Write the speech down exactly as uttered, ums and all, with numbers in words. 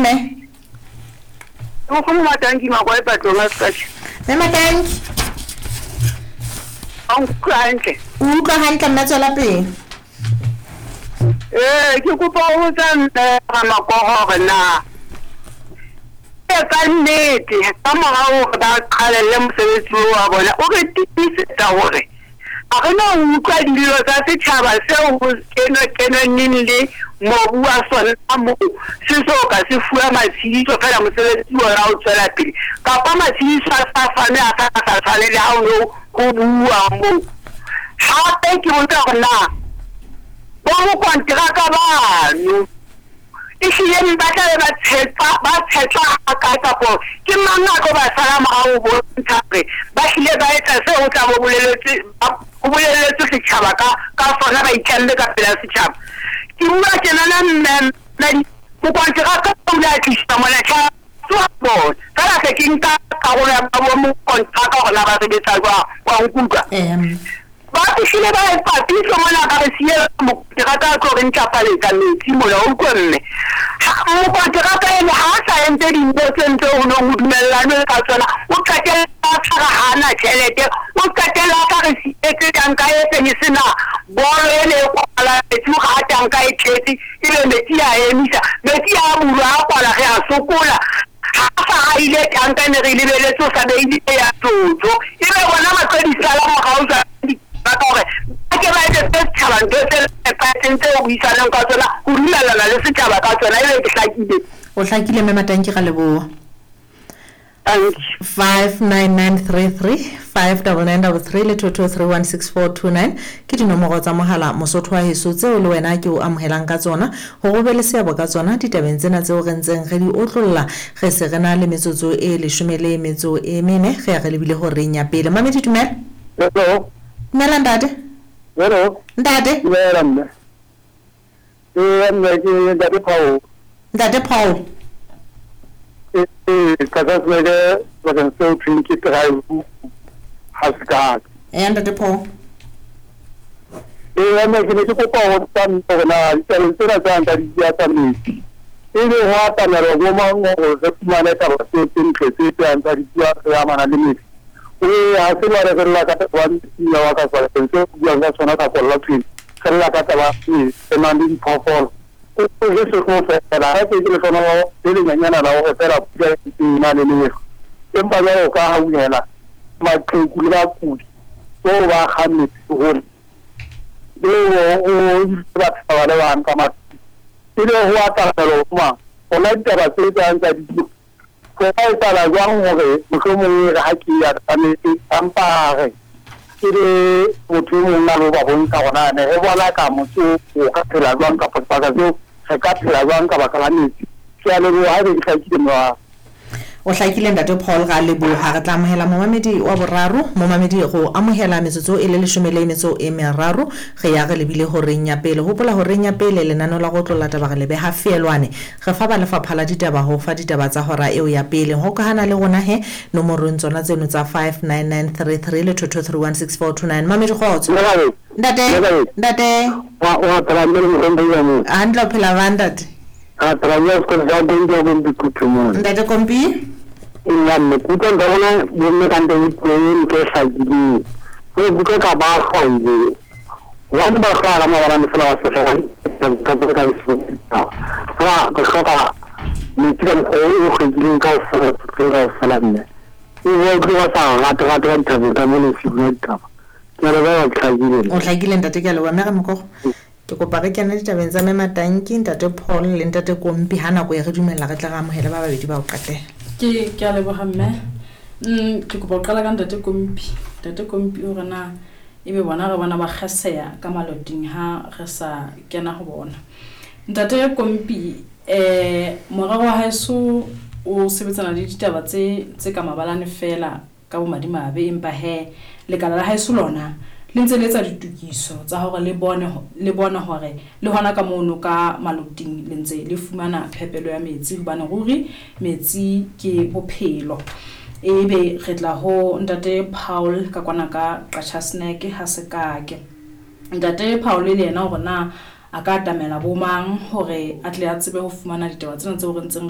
Mme. Nkgono Matanki Makoe Patlong a Sekatjha. Mme Matanki. A nkutlwa hantle. O utlwa hantle mme, tswela pele. Ee, ke kopa ho botsa mme Ramakogo hore na e ka nnete ka mora hore ba qalelle mosebetsi oo wa bona, o re tiisetsa hore ha re no utlwa dillo tsa setjhaba seo ho kenwe kenweneng le mobu wa sona moo se so ka se fuwa matshediso, feela mosebetsi ona o tswela pele, kapa matshediso a sa fanwe a sa sa tshwane le ha o no ho bua moo. Hape ke botsa hore na bo mokonteraka bano ehlile ba tla be ba tshepa ba tshetla hakae, kapo ke mang a tlo ba sala morao ho bontsha hore ba hlile ba etsa seo ho tla bo boleletswe ho boleletswe setjhaba ka ka sona, ba itlamme ka pela setjhaba. Ke bua tjenana mme, mokonteraka o ile a tlisa mona wa bona feela, se ke nka karolo ya bo mokonteraka hore na ba sebetsa jwang, wa nkutlwa? Ba fihlile ba etsa pitso mona, ba re siela mokonteraka a tlo re ntlafaletsa metsi mona, o utlwe mme. Mokonteraka ene ha a sa entse dintho tse ntse ho nong ho dumellanwe ka tsona, o qetella a tshwara hana tjhelete, o qetella a sa re sietse tanka e seng e sena bolo ene e kwala metsi, hore ha tanka e tletse ebe metsi a emisa, metsi a bulwa a kwala, re a sokola. Ha sa haile tanka ne re lebeletse, o sa beile ya tsotso, ebe bona ba tlo di sala morao jwang ka hore ba ke ba etsetse setjhaba ntho tse nepahetseng tseo buisanang ka tsona, ho dumellana le setjhaba ka tsona. Ebe ke hlakile? O hlakile mme Matanki, ra leboha. Five nine nine three three five double nine double three le two two three one six four two nine ke dinomoro tsa mohala, Mosotho wa heso, tseo le wena ke o amohelang ka tsona hore o be le seabo ka tsona ditabeng tsena tseo re ntseng re di otlolla. Re se re na le metsotso e leshome le metso e mene, re ya re lebile horeng ya pele. Mamedi, dumela. Hello. Dumela ntate. Hello. Ntate. Dumela mme. Ee mme, ke ntate Paul. Ntate Paul. Ee, Qachasneke, sebakeng seo thweng ke Drive ha Sekaka. Ee ntate Paul. Ee mme, ke ne ke kopa ho botsa mme hore na ditabeng tsena tse nka di bua tsa metsi, ebe ho atamelwa bo mang hore re fumane taba tseo tse ntle tse tseyang tsa di bua tse amana le metsi? Ee, ha se jwale re lla ka taba ya metsi wa ka sebakeng seo o buang ka sona ka kolla thweng, re lla ka taba ya metsi re nang le diphoofolo. O je se tlo fela ha ke ke lehlohonolo le lenyenyana la hore feela pula e na le lehlwa, empa jwale o ka hauhela maqheku le bakudi tseo ba kgang metsi hole leo o batho ba le bang ka matlung, ebe ho atamelwa ho mang hona ditaba tse tsang tsa dijo? Ho ka etsahala jwang hore mohlomong e re ha ke ya tsametse empa re ke le motho e mong a lo ba bontsha hore na ne re bona ka motse o ka phela jwang, kapa sebaka seo re ka phela jwang ka baka la metsi? Ke a leboha haebe ke hlakile morao. O hlakile ntate Paul, ra leboha. Re tla amohela momamedi wa boraro. Momamedi, go amohela metsotso e le leshome le metso e meraro, re ya re lebile horeng ya pele. Hopola, horeng ya pele lenaneo la go tlolla taba re le beha feelwane, re fa ba lefapha la ditaba ho fa ditaba tsa hora eo ya pele. Hokahana le rona he nomorong tsona tseno tsa five nine nine three three le two two three one six four two nine. Mamedi, kgotso ntate. Ntate. Wa wa phela mme le mohlomphehi wa moo? Hantle, o phela ba ntate? A phela mme, sekolo sa Kompi wa Kompi Kutu mona. Ntate Kompi. Nna mme, ke utlwa nka bona bomme ka ntle le puo e ntle e hlakileng. Ke utlwa ka ba hlwaile. Hobane ba hlwaya ka mabalane feela wa sehloka ka tse ka Ra re hloka metsi ka mokgwa o hlwekileng kaofela, kaofela mme. E bua utlwe ba sa rate rate ka dithabeng ka mona e ditaba. Ke a leboha, ke hlakile. O hlakile ntate, ke a leboha. Mme Ramokogo, ke kopa re kene ditabeng tsa mme Matanki, ntate Paul le ntate Kompi. Ha nako e re dumella, re tla re amohele ba babedi ba ho qetela. Ke ke a leboha mme. mm ke kopa ho qala ka ntate Kompi. Ntate Kompi, hore na ebe bona re bona ba kgeseya ka maloting ha re sa kena ho bona. Ntate Kompi, eh morero wa haeso o sebetsana le ditaba tse tse ka mabalane fela ka bomadimabe, empa he lekala la haeso lona le ntse le etsa ditokiso tsa hore le bone le bone hore le hona ka mono ka maloting le ntse le fumana phepelo ya metsi, hobane ruri metsi ke bophelo. Ebe re tla ho ntate Paul ka kwana ka Qachasneke ha Sekake. Ntate Paul le yena hore na a ka atamela bo mang hore a tle a tsebe ho fumana ditaba tsena tseo re ntseng